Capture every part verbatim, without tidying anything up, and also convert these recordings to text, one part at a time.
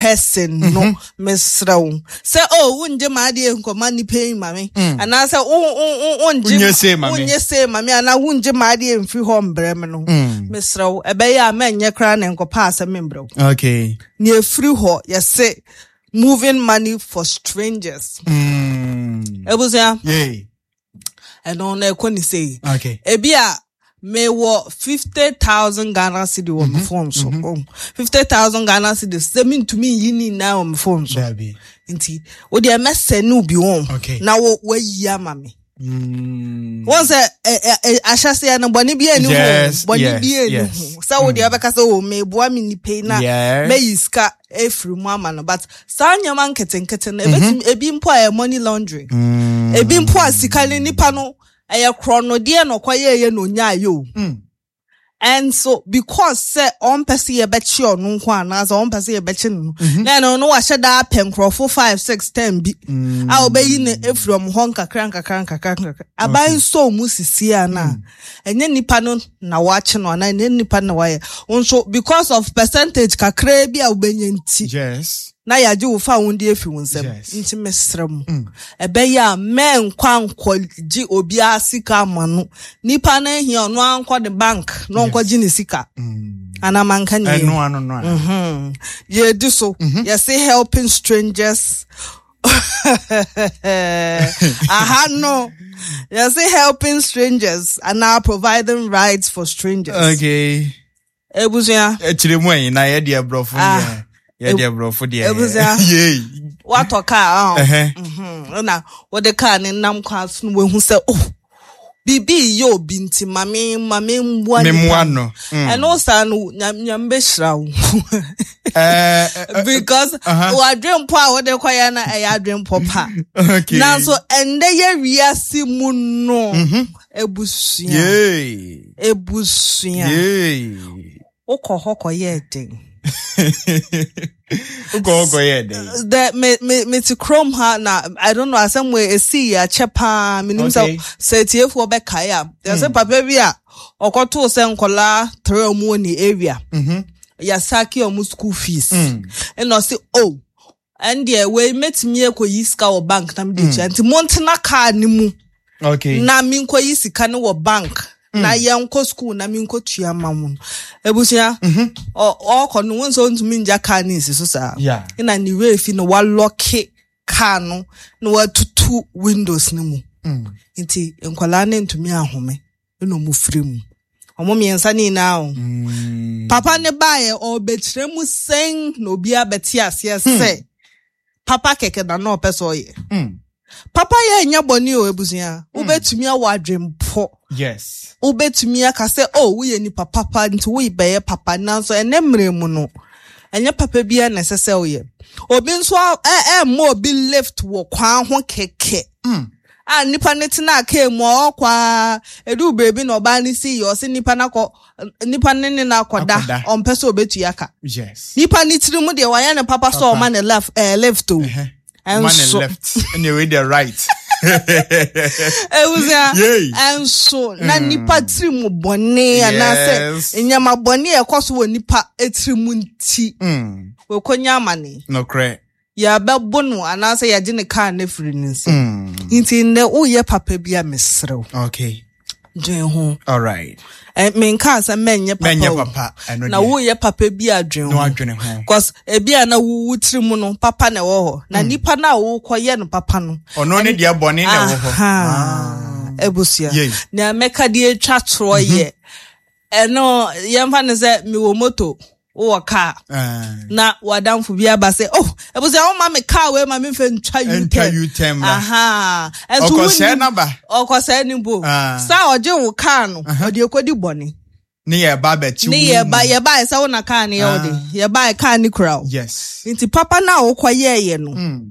Person no, mesrɛ wo sɛ o wongye m'adeɛ nkɔma nipa yi ma me, anaasɛ wo- wo- wo- wongye Wonyɛ sei ma me. Wonyɛ sei ma me anaa wongye m'adeɛ mfiri hɔ mbrɛ me no, mesrɛ wo, ɛbɛyɛ a mɛnyɛ koraa na nkɔpa asɛm mbrɛ wo. Okay. Nea ɛfiri hɔ, yɛse moving money for strangers. Mm. Ebusua, Yay. ɛno na ɛkɔ ne sei. Okay. Ebi a mewɔ fifty thousand Ghana cedi wɔ me phone so. Fifty thousand Ghana cedi sɛ mentumi nyi ne nyinaa wɔ me phone so. Dabi. Nti wodeɛ mɛsɛ ne obi wɔn Okay. na wo wayi ama me. Mm. Wɔn sɛ ɛ ɛ ɛ ahyɛseɛ no, bɔne bi ani ho. Yes, Bɔne yes, bi ani yes. ho sɛ wodeɛ ɔbɛka sɛ o meboa me nipa yi na Yes. mɛyi sika efiri mu ama no, but saa nneɛma nketenkete no, ebetumi ebi mpo a ɛyɛ money laundry. Mm. Ebi mpo a sika ne nipa no ɛyɛ korɔnodeɛ na ɔkɔyɛɛyɛ na onyaayɛ o. Mm. And so because sɛ ɔmpɛ sɛ yɛbɛkye ɔno nko anaasɛ ɔmpɛ sɛ yɛbɛkye no no, na ɛno no wahyɛ daa pɛ nkurɔfo five, six, ten bi a ɔbɛyi no efiri ɔmo hɔ nkakra nkakra nkakra nkakra. Aban nso ɔmo sisi ana ɛnyɛ nipa no na wakye no anaa ɛnyɛ nipa no na wayɛ nso, because of percentage kakra bi a wobɛnya nti Yes. na yɛagye wo fa wo de efi wo nsam. Yes. Nti mesrɛ mu, ɛbɛyɛ a mɛnkɔ ankɔgye obiara sika ama no. Nipa no ahia, ɔno ankɔ ne bank na ɔnkɔgye ne sika anamanka ne yɛ. Ɛno ano no a. Mhm. Yɛdi so, yɛse helping strangers. Aha no, yɛse helping strangers anaa providing rides for strangers. Okay. Ebusua, Akyire mu ayi na yɛde aborɔfo Ah. deɛ. Yɛde aborɔfo deɛ. Ebusua. Yay. Watɔ kaa ɔn. Ɛhɛ. Mhm. Ɛna wɔde kaa ne nam kwan so no, wahu sɛ oh, biribi yɛ obi nti mame mame mmoa nipa. Memmoa no. Mm. Ɛno saa no, nyam nyam bɛhyira wo Eh, eh, because uh-huh. wadwempɔ a wode kɔyɛ no ɛyɛ adwempɔ pa. Okay. Nanso ɛndɛ yɛ wiase mu no, ebusua, Yay. ebusua, Yay. wokɔ hɔ kɔyɛɛ den. Wokɔ hɔ kɔyɛɛ dɛn? The me me me te kurom ha na I don't know, asɛm wei esi yɛ akyɛ paa. Menim sɛ Okay. sɛ etiefoɔ bɛkae a, yɛsɛ papa bi a ɔkɔtoo sɛ nkɔlaa tere ɔmo wɔ ne area Mhm. yɛasake ɔmo school fees, ɛna ɔse oh, ɛndeɛ wei mɛtumi akɔyi sika wɔ bank na mede tua, nti montena kaa ne mu Okay. na menkɔyi sika no wɔ bank na yɛnkɔ school na menkɔ tua ma mo no. Ebusua, ɔ- ɔkɔ no, wɔn nso ntumi ngya kaa ne nsi so saa. Yeah. Ɛna ne werɛ fi no, walock kaa no na watutu windows no mu, nti nkwadaa no ntumi ahome ɛna ɔmo firi mu, ɔmo mmiɛnsa ne nyinaa o. Mm. Papa ne baayɛ ɔbɛkyerɛ mu sɛn na obiara bɛte aseɛ sɛ papa kɛkɛ na na ɔpɛ sɛ ɔyɛ. Mm. Papa yɛ nyɛ bɔne o. Ebusua, wobɛtumi awɔ adwempɔ. Yes. Wobɛtumi aka sɛ oh, woyɛ nipa papa nti woyɛ papa, nanso ɛnɛ mmerɛ mu no, ɛnyɛ papa biara na ɛsɛ sɛ woyɛ. Obi nso a- ɛ ɛmma obi lift wɔ kwan ho kɛkɛ a nipa ne tena kaa mu a ɔkɔ a edu beebi na ɔbaa ne si yɛ, ɔsɛ nipa n'akɔ nipa ne ne n'akɔda. Akɔda. Ɔmpɛ sɛ obetua ka. Yes. Nipa ne tiri mu deɛ, wayɛ ne papa sɛ Papa. ɔma ne left ɛɛ lift o. Ɛhɛ. Man Ɛnso left. Anyway, the right. Ewusia, Yay. ɛnso na nipa tiri mu bɔne anaasɛ Yes. nneɛma bɔne a ɛkɔ so wɔ nipa tiri mu nti Mm. wɔkɔnya amane. Nokorɛ. Yɛbɛbo no anaasɛ yɛgye ne kaa no afiri ne nsam. Mm. Nti nnɛ woyɛ papa bi a, mesrɛ wo, Okay. dwen ho. All right. Ɛ, menkaa sɛ mɛnyɛ papa Mɛnyɛ o. papa. Ɛno Na deɛ. woyɛ papa bi a, dwen Na ho. wadwene ho. Cause ebi a na wowu tiri mu no, papa na ɛwɔ hɔ na nipa no a wokɔyɛ no papa no, Ɔno ne deɛ, bɔne na ɛwɔ hɔ. Aha. Ebusua, Yei. nea mɛka de atwa torɔ yɛ ɛno, yɛmfa no sɛ mewɔ moto, wowɔ kaa, Ah. na wadamfo bi aba sɛ oh, ebusua, woma me kaa wei ma memfa ntwa Ntwa U-turn. U-turn mmra. Aha, ɛnso Ɔkɔsɛɛ wonnim- n'aba. Ɔkɔsɛɛ ne bo. Ah. Saa ɔgye wo kaa no, ɔde ekɔdi bɔne. Ne yɛ ba bɛkyi Ne wo yɛba mu. yɛba sɛ wo na kaa no yɛ wo de, yɛba kaa ne kura wo. Yes. Nti papa no a wokɔyɛɛyɛ no, Mm.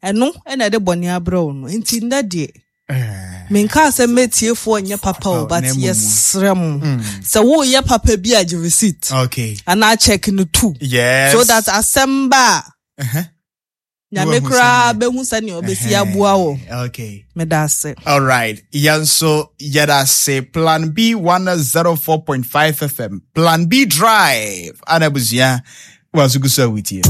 ɛno ɛna ɛde bɔne abrɛ wo no. Nti nnɛ deɛ, Eh. menkaa sɛ mɛtiefoɔ nyɛ papa o, but Na mmom. yɛsrɛ mo sɛ woyɛ papa bi a, gye receipt Okay. anaa check no too Yes. so that asɛm ba a, Uh-huh. Nyame Woahu koraa sɛnea- bɛhu sɛnea ɔbɛsi aboa wo. Okay. Meda ase. All right. Yɛn nso yɛda ase. Plan B one oh four point five F M. Plan B Drive. Ana abusua. Waso gu so a wotie.